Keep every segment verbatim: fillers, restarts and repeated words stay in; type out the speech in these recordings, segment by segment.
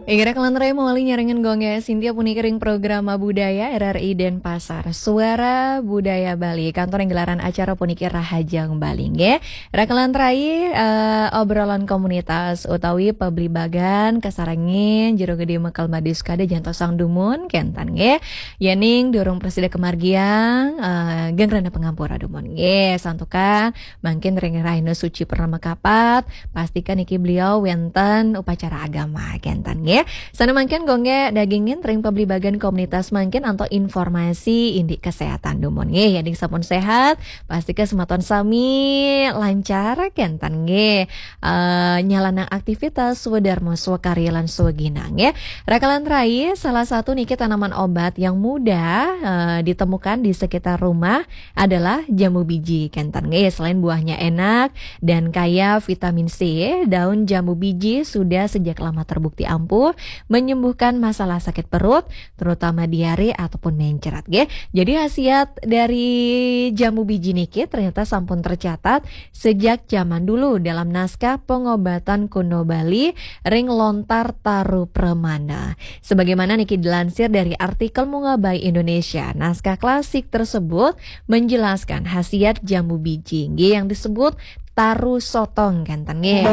Inggih, raka lantarai mawali nyarengin Gung Gé Sintia puniki ring Programa Budaya R R I Denpasar. Suara Budaya Bali, kantor ring gelaran acara puniki Rahajeng Bali, nggih. Raka lantarai, eh, obrolan komunitas utawi pablibagan kasarengin Jero Gedé Mekel Madu Sukada jantosang dumun, kénten, nggih. Yéning durung prasida kamargiang, eh, geng rena pangampura dumun, nggih. Santukan mangkin ring rahina suci purnama kapat, pastika niki beliau wénten upacara agama, kénten, nggih. Sané mangkin Gung Gé dagingin ring pablibagan komunitas mangkin antuk informasi indik kesehatan dumun, nggih. Yéning sampun sehat, pastika semeton sami lancar, kénten, nggih. Eh, nyalanang aktivitas swadarma, swakarya lan swaginang, nggih. Raka lantarai, salah satu niki tanaman obat yang mudah, eh, ditemukan di sekitar rumah adalah jambu biji, kénten, nggih. Selain buahnya enak dan kaya vitamin C, daun jambu biji sudah sejak lama terbukti ampuh menyembuhkan masalah sakit perut, terutama diare ataupun mencret, nggih. Jadi, khasiat dari jambu biji niki ternyata sampun tercatat sejak zaman dulu dalam naskah pengobatan kuno Bali ring lontar Taru Pramana. Sebagaimana niki dilansir dari artikel Mungabai Indonesia, naskah klasik tersebut menjelaskan khasiat jambu biji, nggih, yang disebut taru sotong, kénten, nggih.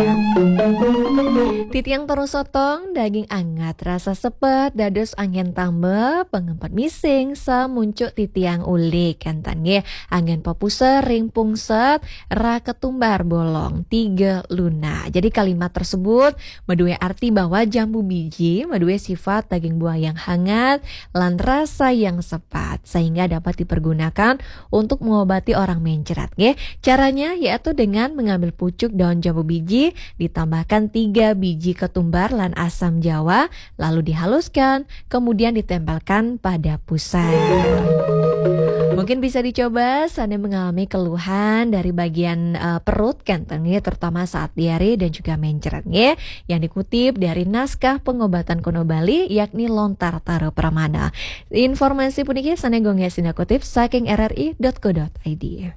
Titiang taru sotong daging anget, rasa sepet, dados anggén tamba pangempet mising, samuncuk titiang ulik, kénten, nggih. Anggén papuser ring pungset, ra ketumbar bolong, tiga lunak. Jadi kalimat tersebut madué arti bahwa jambu biji madué sifat daging buah yang hangat lan rasa yang sepat, sehingga dapat dipergunakan untuk mengobati orang mencret, nggih. Caranya yaitu dengan mengambil pucuk daun jambu biji, ditambahkan tiga biji ketumbar lan asam jawa, lalu dihaluskan, kemudian ditempelkan pada pusat. Mungkin bisa dicoba sané mengalami keluhan dari bagian, eh, perut, kénten, nggih, terutama saat diare dan juga mencret, nggih. Yang dikutip dari naskah pengobatan kuno Bali, yakni lontar Taru Pramana. Informasi puniki sané Gung Gé sinah kutip saking R R I dot co dot I D.